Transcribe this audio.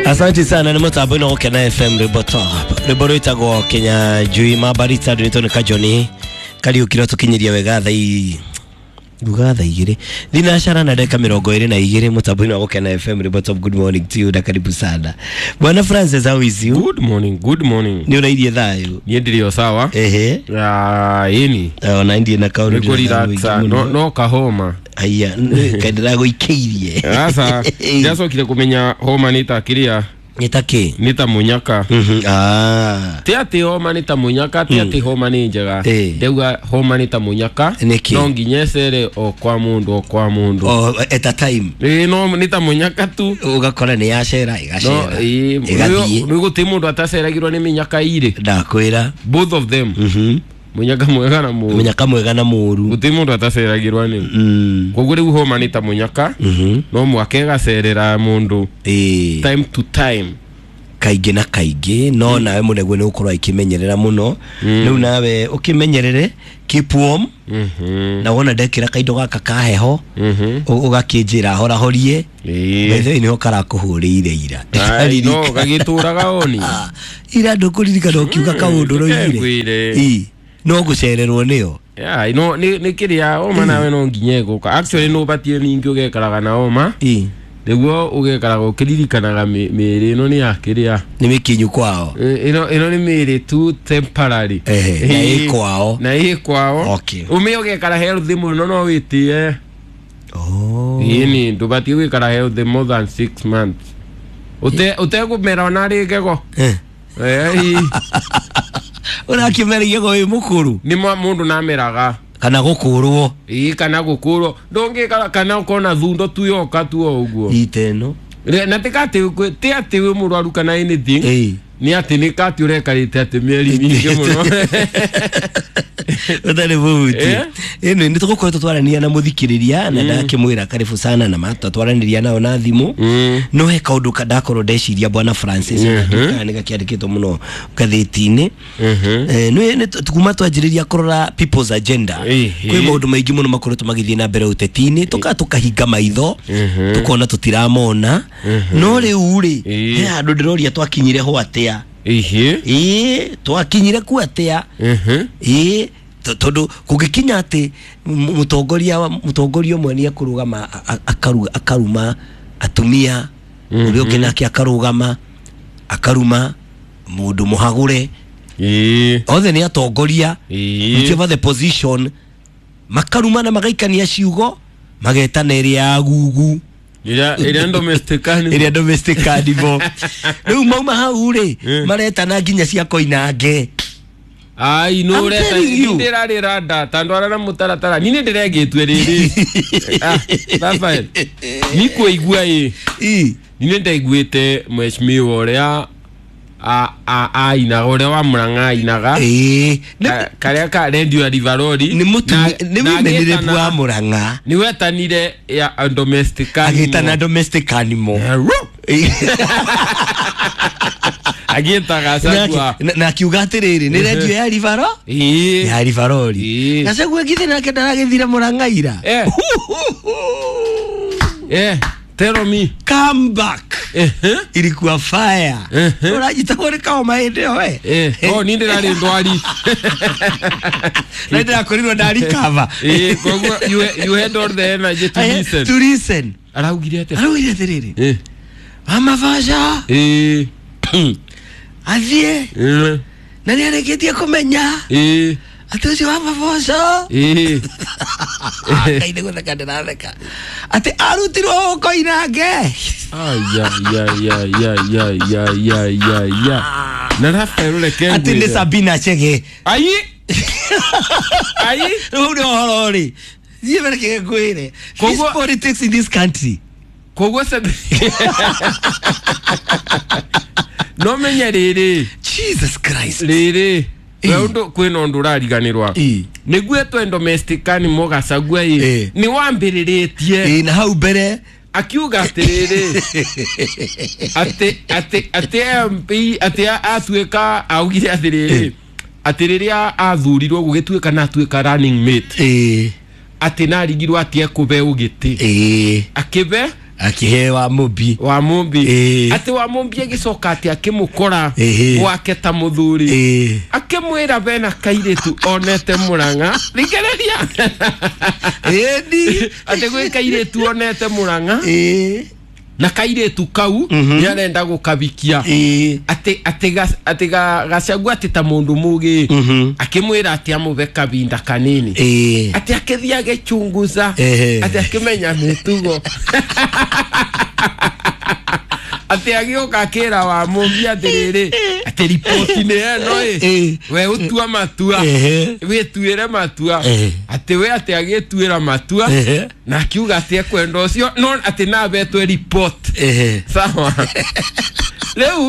Asante sana nĩ mũtambo-inĩ wa Gũkena FM rwĩmbo top rwĩmbo rwĩtagwo Kenya Njui Mabarita rwĩtwo nĩ Kajoni Kariũki rwatũkinyĩria wega thaa nguga thaa 2 thinacara na ndagĩka 22 mũtambo-inĩ wa Gũkena FM rwĩmbo top. Good morning to you na karibu sana Bwana Francis, how is you? Good morning, good morning. Nĩ ũrairie thayũ? Niĩ ndĩrĩ o sawa. Ehe. Ĩni. Ona ndiĩ na kaũndũ. Nĩ kũrelaxa, no kahoma. Aya, kaĩ ndĩragũikĩirie. Aca, ndĩracokire kũmenya homa nĩ ta kĩrĩa. Nĩ ta kĩ? Nĩ ta mũnyaka. Ah. Ti atĩ homa nĩ ta mũnyaka, ti atĩ homa nĩ njega. Ndauga homa nĩ ta mũnyaka. Nĩkĩ? No nginya ĩcere o kwa mũndũ o kwa mũndũ. O at a time. Ĩĩ, no nĩ ta mũnyaka tu. Ũgakora nĩ yacera ĩgacera. No, ĩĩ, ĩgathiĩ. Rĩu gũtirĩ mũndũ ataceragirwo nĩ mĩnyaka irĩ. Ndakwĩra. Both of them. Mũnyaka mwega na mũũru. Mũnyaka mwega na mũũru. Gũtirĩ mũndũ ataceragirwo nĩ. Koguo rĩu homa nĩ ta mũnyaka. No mwaka ĩgacerera mũndũ. Time to time. Kaingĩ na kaingĩ no nawe mũneguo nĩ gũkorwo akĩmenyerera mũno. Rĩu nawe ũkĩmenyerere, keep warm. Na wona ndekĩra kaindo gaka ka heho ũgakĩnjĩra horahorie. Bethe nĩho karakũhũrĩire ira. No gagĩtũraga oni. Ira ndũkũririkana ũkiuga kaũndũ ũroigire. No gũcererwo nĩyo. Yeah, no nĩ kĩrĩa homa nawe no nginya ĩgũka. Actually no ũbatiĩ ningĩ ũgekaraga na homa. Nĩguo ũgekaraga ũkĩririkanaga mĩĩrĩ ĩno nĩ ya kĩrĩa. Nĩ mĩkinyu kwao. Ĩno nĩ mĩĩrĩ tu temporary. Na ĩ kwao. Na ĩ kwao. Okay. Ũmĩ ũgekara healthy mũno no wĩtĩe. Oh. Ĩni ndũbatiĩ gũikara healthy more than 6 months. Ũtegũmera ona rĩ gego. Ũrakĩmera igego wĩ mũkũrũ. Nĩ mũndũ nameraga. Kana gũkũrwo. Ĩĩ, kana gũkũrwo. Ndũngĩkara kana ũkona thundo tu yoka tu o ũguo. Iteno. Na ti atĩ wĩ mũrwaru kana anything. Nĩ atĩ nĩ kati ũrekarĩte atĩ mĩeri mĩingĩ mũno. Ũtarĩ mũhuti. Ĩno nĩ tũgũkoretwo twaranĩria na mũthikĩrĩria na ndakĩmwĩra karibu sana na mata twaranĩria nao na thimũ. No he kaũndũ ndakorwo ndeciria Bwana Francis kana nĩ gakĩandĩkĩtwo mũno ngathĩti-inĩ. Nĩ kuma twanjĩrĩria kũrora People's Agenda. Kwĩ maũndũ maingĩ mũno makoretwo magĩthiĩ na mbere ũteti-inĩ, tũkahinga maitho, tũkona tũtiramona. No rĩu rĩ, he handũ ndĩroria twakinyire ho atĩa? Ĩĩ, twakinyire ku atĩa? Ĩĩ, tondũ kũngĩkinya atĩ mũtongoria ũmwe nĩ ekũrũgama akaruma atumia, ũrĩa ũngĩ nake akarũgama akaruma mũndũ mũhagũre. Othe nĩ atongoria, whichever the position, makaruma na magaikania ciugo, magetana ĩrĩa ya gugu. Ĩrĩa domestic animal. Ĩrĩa domestic animal. Rĩu mauma hau rĩ, maretana nginya cia Koinange. Ai, no ũreta ndĩrarĩra nda ta ndwara na mũtaratara. Niĩ nĩndĩregĩtue rĩrĩ. Rafael, nĩ kũigua ĩ. Niĩ nĩndaiguĩte mheshimiwa ũrĩa ainaga, ũrĩa wa Murang'a ainaga. Karĩa ka radio ya Rivaroli. Nĩ mũmenyerebu wa Murang'a. Nĩ wetanire ya domestic animal. Agĩtana domestic animal. Agĩta Gachagua. Na akiuga atĩrĩrĩ, nĩ radio ya Rivaro? Ya Rivaroli. Gachagua githĩ nake ndaragĩthire Murang'a ira. Tell me. Come back. Ilikuwa fire. Ũranyitagwo nĩ kaoma hĩndĩ ĩyo we. Oh, niĩ ndĩrarĩ ndwari. Na ndĩrakorirwo ndarikava. Koguo you had all the energy to listen. To listen. Araugire atĩa? Araugire atĩrĩrĩ. Mama Vasha. Athiĩ. Na nĩarĩkĩtie kũmenya. Atĩ ũcio wa Mabosho. Ngai nĩ gũtheka ndĩratheka. Atĩ arutirwo Koinange. Ai. Na Rafael reke ngwĩre. Atĩ nĩ Sabina Chege. Ai. Ai. Rĩu nĩ ũhoro rĩ. Thiĩ mbere kĩge ngwĩre. This politics in this country. Koguo no menye rĩrĩ. Jesus Christ. Rĩrĩ. Ũndũ kwĩna ũndũ ũrariganĩrwa. Nĩguo etwe domestic animal Gachagua ĩ. Nĩ wambĩrĩrĩtie. Na hau mbere akiuga atĩrĩrĩ. Atĩ MP atĩ atuĩka augire atĩrĩrĩ. Atĩ rĩrĩa athurirwo gũgĩtuĩka na atuĩka running mate. Atĩ narigirwo atĩ ekũbe ũgĩtĩ. Akĩbe Akĩhe wa mũmbi. Wa mumbi. Ĩĩ. Atĩ wa mumbi agĩcoka atĩ akĩmũkora Ĩhĩ. gwake ta mũthuri, Ĩĩ. akĩmwĩra bena kairĩtu onete Mũrang'a, thikĩrĩria. Ĩni. Atĩ gwĩ kairĩtu onete Mũrang'a Ĩĩ. na kairĩtu kau nĩ arenda gũkabikia. Ĩĩ. Atĩ Gachagua atĩ ta mũndũ mũgĩ akĩmwĩra atĩ amũbe kabinda kanini, Ĩĩ. atĩ akĩthiĩ agĩchunguza, Ehe. atĩ akĩmenya mĩtugo, atĩ agĩũka akĩra wa mũmbi atĩrĩrĩ, atĩ riboti nĩ ĩno ĩ, Ĩĩ. we ũtua matua, Ehe. wĩtuĩre matua. Ehe. Atĩ we atĩ agĩtuĩra matua Ehe. na akiuga atĩ ekwenda ũcio, no atĩ nabetwe report. Ehe. Sawa, rĩu.